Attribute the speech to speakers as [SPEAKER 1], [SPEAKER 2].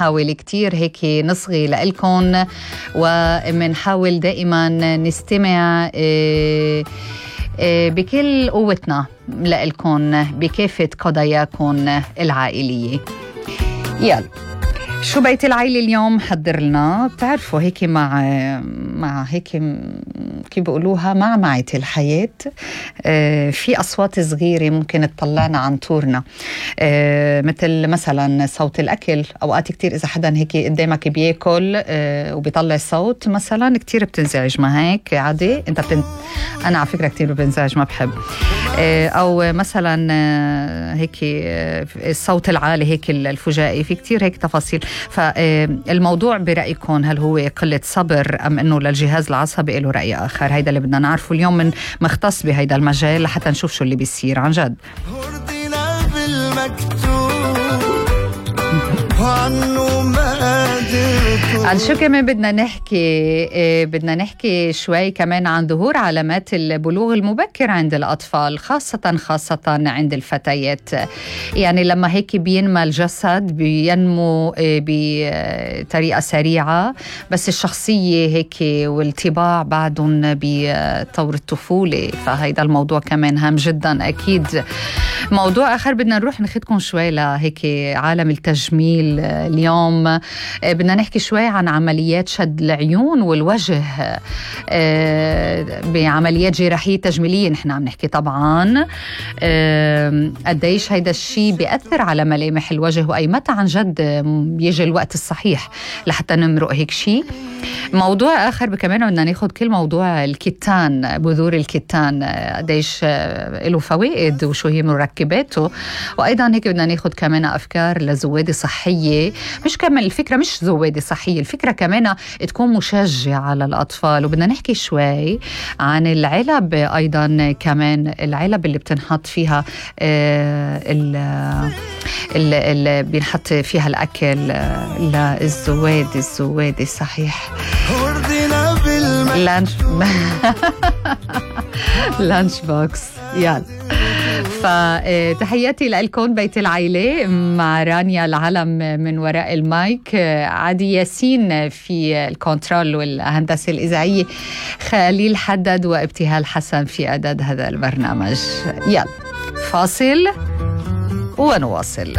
[SPEAKER 1] منحاول كتير هيك نصغي لإلكن، ومنحاول دائما نستمع بكل قوتنا لإلكن بكافة قضاياكن العائلية. يلا شو بيت العيلة اليوم حضر لنا؟ بتعرفوا هيك مع هيك كيف بيقولوها معمعة الحياة، في أصوات صغيرة ممكن تطلعنا عن طورنا، مثل مثلا صوت الأكل. أوقات كتير إذا حدا هيك قدامك بياكل وبيطلع صوت مثلا كتير بتنزعج، ما هيك عادي؟ أنا على فكرة كتير بنزعج، ما بحب. أو مثلا هيك الصوت العالي هيك الفجائي، في كتير هيك تفاصيل. فالموضوع برأيكم هل هو قلة صبر أم أنه للجهاز العصبي له رأي آخر؟ هيدا اللي بدنا نعرفه اليوم من مختص بهيدا المجال لحتى نشوف شو اللي بيصير عن جد. عن شو كمان بدنا نحكي شوي كمان عن ظهور علامات البلوغ المبكر عند الأطفال، خاصة عند الفتيات. يعني لما هيك بينمى الجسد بينمو بطريقة سريعة، بس الشخصية هيك والطباع بعدهم بطور الطفولة، فهيدا الموضوع كمان هام جدا. أكيد موضوع آخر بدنا نروح ناخدكم شوي لهيك عالم التجميل. اليوم بدنا نحكي شوي عن عمليات شد العيون والوجه، بعمليات جراحية تجميلية نحن عم نحكي طبعا. قديش هيدا الشيء بيأثر على ملامح الوجه، وأي متى عن جد بيجي الوقت الصحيح لحتى نمرق هيك شيء. موضوع آخر كمان بدنا ناخد كل موضوع الكتان، بذور الكتان قديش له فوائد وشو هي مركباته، وأيضا هيك بدنا ناخد كمان أفكار لزوادة صحية. مش كمان الفكرة مش زوادة صحية، الفكرة كمان تكون مشجعة للأطفال. وبدنا نحكي شوي عن العلب، أيضا كمان العلب اللي بتنحط فيها اللي بينحط فيها الأكل للزوادة صحيح. لانش بوكس. يلا فتحياتي لكم بيت العيلة مع رانيا العلم من وراء المايك، عادي ياسين في الكنترول والهندسة الإذاعية، خليل حدد وابتهال حسن في إعداد هذا البرنامج. يلا فاصل ونواصل.